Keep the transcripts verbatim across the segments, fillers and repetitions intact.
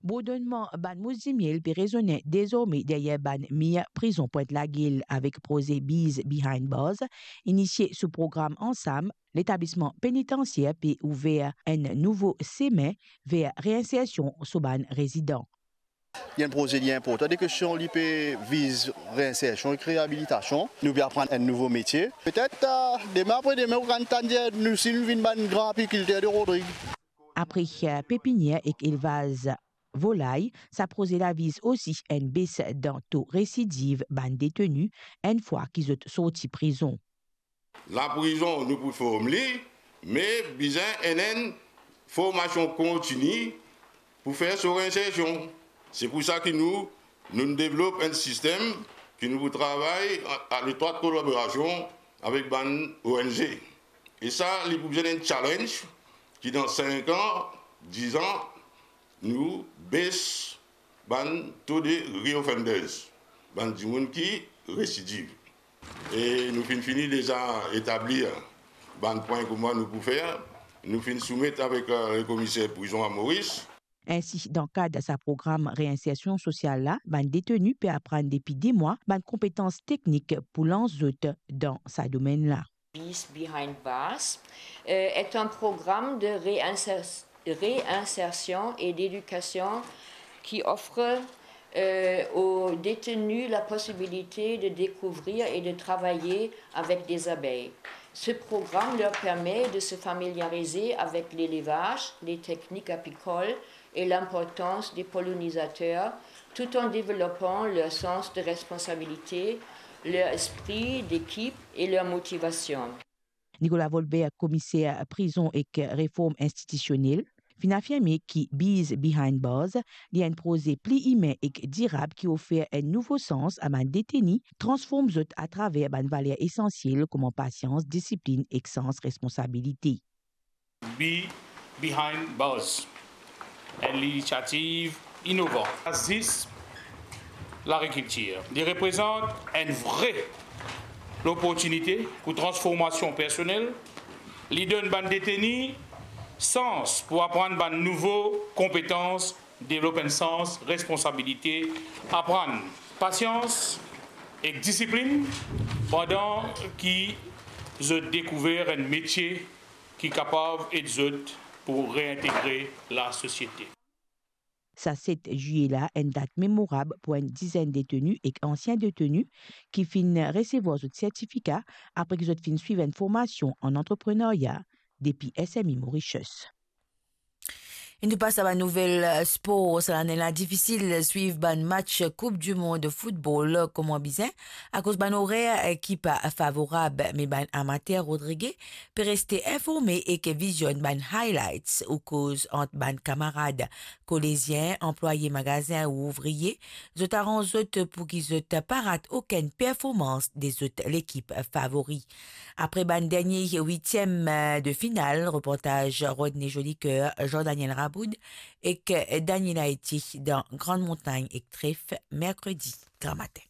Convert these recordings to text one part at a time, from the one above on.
Bourdonnman bann mous dimiel pe rezonnen dezorme deryer bann mir prizon Pwint Lagel avek proze Bees Behind Bars, inisie sou program Ansam, letablisman penitansier pe ouver enn nouvo semin ver reinsersion so bann rezidan. Li enn proze li inportan, de kestion li pe viz reinsersion ek reabilitasion. Nou pe aprann enn nouvo metie. Petet, eh, demin apre demin, ou kapav tann dir nou si nou vinn bann gran apikilter de Rodrig. Apre, eh, pepinier ek elvaz volay, sa proze la viz osi enn bes dan to residiv bann deteni enn fwa ki zot sorti prizon. Laprizon, nou pou form li, me bizin enn, enn formasion kontini pou fer so reinsersion. Se pou sa ki nou, nou devlop enn sistem ki nou pou travay a, a letrwat kolaborasion avek bann O N G. E sa, li pou bizin enn challenge ki dan sink an, diz an, nou bes bann to de reoffenders, bann dimoun ki residiv. E nou finn fini deza etablir bann pwin kouma nou pou fer. Nou finn soumet avek, eh, lekomiser prizon a Moris. Ensi, dan kad sa program reinsersion sosial la, bann deteni pe aprann depi de mwa bann konpetans teknik pou lans zot dan sa domenn la. Bees Behind Bars, euh, est un programme de réinsers-, réinsertion et d'éducation qui offre, euh, aux détenus la possibilité de découvrir et de travailler avec des abeilles. Ce programme leur permet de se familiariser avec l'élevage, les techniques apicoles et l'importance des pollinisateurs, tout en développant leur sens de responsabilité, leur esprit d'équipe et leur motivation. Nicolas Volbert, komiser prizon ek reform institisionel, finn afirme ki Bees Behind Bars, li enn proze pli imin ek dirab ki ofer enn nouvo sans a bann deteni, transform zot atraver bann valer esansiel kouma pasians, disiplin ek sans responsabilite. Bees Behind Bars, enn linisiativ inovan. Zis lagrikiltir. Li reprezant enn vre loportinite pou transformasion personel. Li donn bann deteni sans pou aprann bann nouvo konpetans, devlop enn sans responsabilite, aprann pasians ek disiplin, pandan ki zot dekouver enn metie ki kapav ed zot pou reintegre lasosiete. Sa set zilye la, enn dat memorab pou enn dizenn deteni ek ansien deteni ki finn resevwar zot sertifika apre ki zot finn swiv enn formasion an antreprenarya depi S M I Mauritius. E nou pas a bann nouvel, eh, spor. Sa lane la difisil swiv bann match Coupe du Monde football kouma bizin, akoz bann orer, eh, ki pa favorab, me bann amater Rodrige pe reste informe ek vizionn bann highlights ou koz ant bann kamarad. Kolezien, anplwaye magazin ou ouvrie, zot aranz zot pou ki zot pa rat okenn performans de zot lekip favori. Apre bann dernie witiem de final, reportaz Rodney Jolicoeur, Jean-Daniel Raboud ek Daniela Eti dan Grande Montagne ek Tref, merkredi gramatin.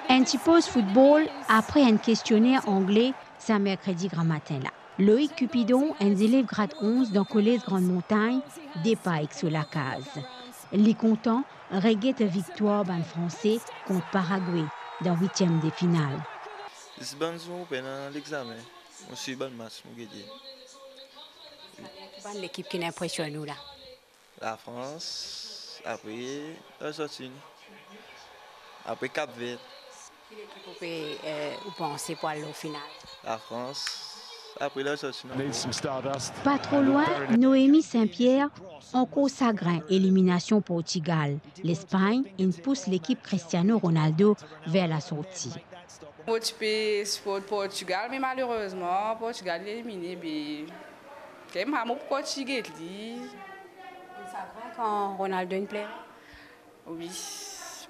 Enn ti poz football apre enn kestionner angle sa merkredi gramatin la. Loïc Cupidon, enn zelev grad onz dan kolez Grande Montagne, depar ek so lakaz. Li kontan reget viktwar bann Franse kont Paragwe dan witiem de final. Zis bann zour pena lexamen, mo swiv bann match, mo gete. Ki bann lekip ki inpresionn ou la? Lafrans, apre Larzantinn, apre Kapver. Ki lekip ou pe, eh, ou panse pou al lor final? Lafrans, apre Larzantinn. Pa tro lwin, Noémie Saint-Pierre, ankor sagrin eliminasion Portigal. Lespagn inn pous lekip Cristiano Ronaldo ver lasorti. Mo ti pe siport Portigal, me malerezman, Portigal inn elimine, be, kemem mo pou kontign get li. Sagrin kan Ronaldo inn plere? Wi,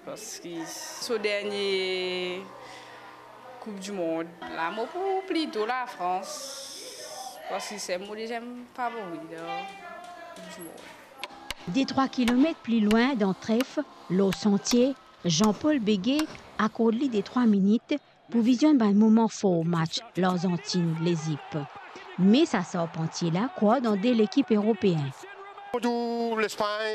parski so dernie Coupe du Monde la, mo pou plito Lafrans, parski se mo deziem favori dan Coupe du Monde. De trwa kilomet pli lwin dan Tref, lor santie, Jean-Paul Beguet akord li de trwa minit pou vizionn bann moman for match Larzantinn-Lezip. Me sa sarpantie la krwar dan de lekip eropeen. Tou Lespagn,